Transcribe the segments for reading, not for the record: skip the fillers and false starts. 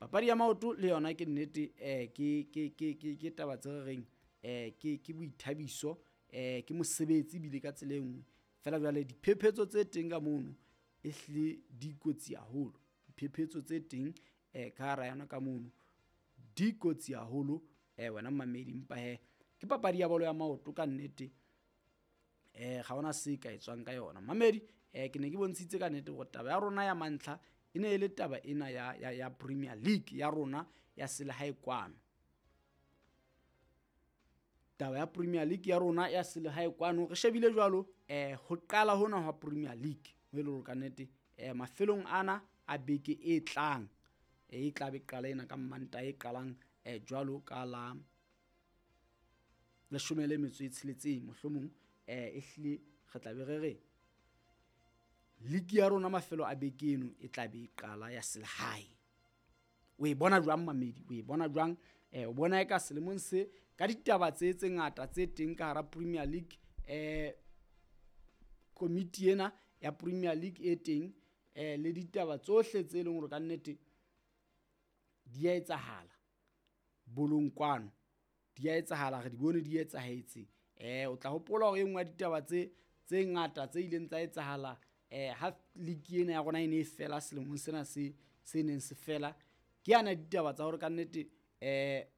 Papadi ya maoto le yona ke nnete ke taba tse re reng ke boithabiso, ke mosebetsi ebile ka tsela e nngwe. Feela jwale diphephetso tse teng ka mono e hlile di kotsi haholo. Diphephetso tse teng ka hara yona ka mono di kotsi haholo wena mmamedi. Empa hee ke papadi ya bolo ya maoto ka nnete, ga hona se ka etswang ka yona. Mmamedi ke ne ke bontshitse ka nnete hore taba ya rona ya mantlha e ne e le taba ena ya Premier League ya rona ya selehae kwano. Taba ya Premier League ya rona ya selehae kwano re shebile jwalo ho qala hona hwa Premier League ho e le hore ka nnete mafelong ana a beke e tlang e tla be qala ena ka Mantaha e qalang jwalo ka la 16 mohlomong, e hlile re tla be re re league ya rona mafelo a beke eno e tla be e qala ya selehae. O e bona jwang mamedi? O e bona jwang? O bona eka selemong se ka ditaba tse tse ngata tse teng ka hara Premier League, komiti ena ya Premier League e teng, le ditaba tsohle tse leng hore ka nnete di a etsahala bolong kwano, di a etsahala, re di bone di etsahetse. O tla hopola hore e nngwe ya ditaba tse tse ngata tse ileng tsa etsahala ha league ena ya rona e ne e fela selemong sena se se neng se fela, ke yana ditaba tsa hore ka nnete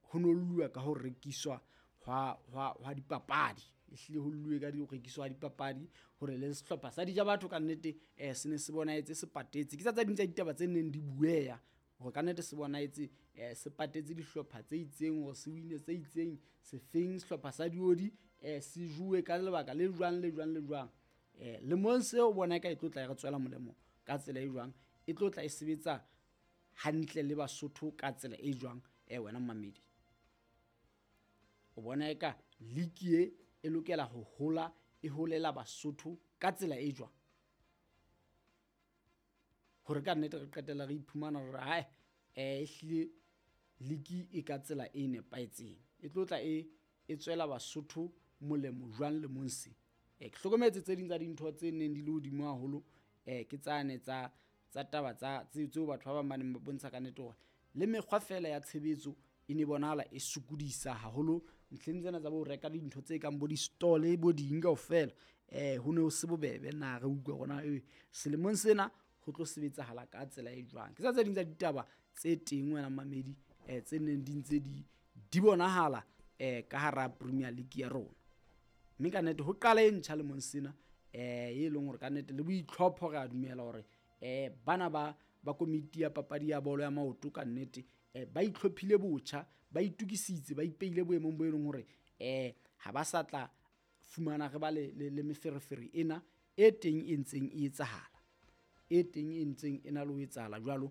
ho no lluwa ka ho rekiswa hwa dipapadi. Ehlile ho lluwe ka ho rekiswa ha dipapadi hore le sehlopha sa Dija Batho ka nnete se ne se bonahetse se patetse. Ke tsa tse ding tsa ditaba tse neng di bueha hore ka nnete se bonahetse se patetse dihlopha tse itseng hore se win-e tse itseng, sefeng sehlopha sa diodi se jowe ka lebaka le jwang le jwang le jwang. Lemong seo o bona eka e tlo tla e re tswela molemo ka tsela e jwang, e tlo tla e sebetsa hantle le Basotho ka tsela e jwang wena mmamedi? O bona eka league e e lokela ho hola, e holela Basotho ka tsela e jwang? Hore ka nnete re qetella re iphumana hore ae ehlile league e ka tsela e nepahetseng, e tlo tla e tswela Basotho molemo jwang lemong se? Ke hlokometse tse ding tsa dintho tse neng di le hodimo haholo, ke tsane tsa taba tsa tseo batho ba bang ba neng ba bontsha ka nnete hore le mekgwa feela ya tshebetso e ne bonahala e sokodisa haholo ntlheng tsena tsa bo reka dintho tse kang bo di-stall bo ding kaofela. Ho ne ho se bobebe na re utlwa hore na selemong sena ho tlo sebetsahala ka tsela e jwang. Ke tsa tse ding tsa ditaba tse teng wena mamedi, tse neng di ntse di bonahala ka hara Premier League ya rona. Mme ka nnete ho qala e ntjha lemong sena, e leng hore ka nnete le boitlhopho re a dumela hore bana ba komiti ya papadi ya bolo ya maoto ka nnete ba itlhophile botjha, ba itukisitse, ba ipeile boemong bo e leng hore ha ba sa tla fumana re ba le meferefere ena e teng e ntseng e etsahala, e teng e ntseng e na le ho etsahala jwalo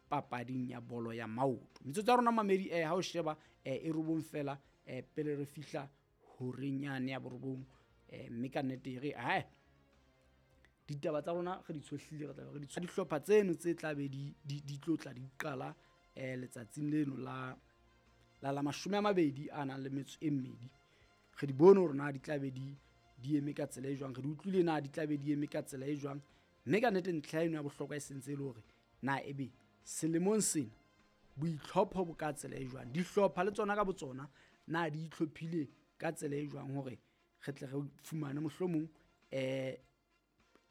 papading ya bolo ya maoto. Metsotso ya rona mamedi ha o sheba e 9 fela pele re fihla horeng yane ya 9, mme ka nnete re ae ditaba tsa rona re di tshohlile, re tla re di dihlopha tseno tse tla be di tlo tla di qala letsatsing leno la 22. Re di bone hore na di tla be di eme ka tsela e jwang, re di utlwile na di tla be di eme ka tsela e jwang. Mme ka nnete ntlha eno ya bohlokwa e sentse e le hore na ebe selemong sena boitlhopho bo ka tsela e jwang, dihlopha le tsona ka botsona na di itlhophile ka tsela e jwang hore re tle re fumane mohlomong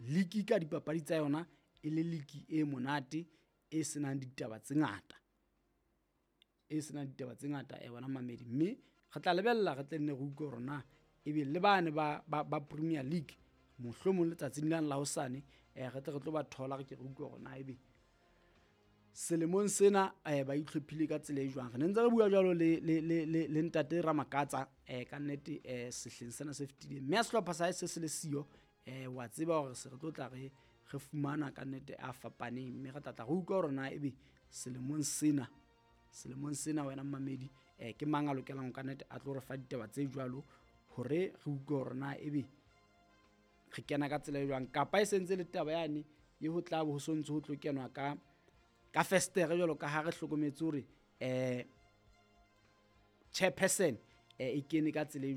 league ka dipapadi tsa yona e le league e monate e senang ditaba tse ngata, e senang ditaba tse ngata wena mamedi. Mme re tla lebella re tle nne re utlwe hore na ebe le bane ba Premier League mohlomong letsatsing lane la hosane re tle re tlo ba thola, re ke re utlwe hore na ebe selemong sena ba itlhophile ka tsela e jwang. Re ne ntse re bua jwalo le ntate Ramakatsa ka nnete sehleng sena se fetileng, mme ha sehlopha sa hae se se le siyo, wa tseba hore se re tlo tla re fumana ka nnete a fapaneng, mme re tla tla re utlwa hore na ebe selemong sena wena mmamedi ke mang a lokelang ka nnete a tlo re fa ditaba tse jwalo hore re utlwe hore na ebe re kena ka tsela e jwang, kapa e sentse le taba yane e ho tla bo ho sontso ho tlo kenwa ka festere jwalo ka ha re hlokometse hore chairperson e kene ka tsela e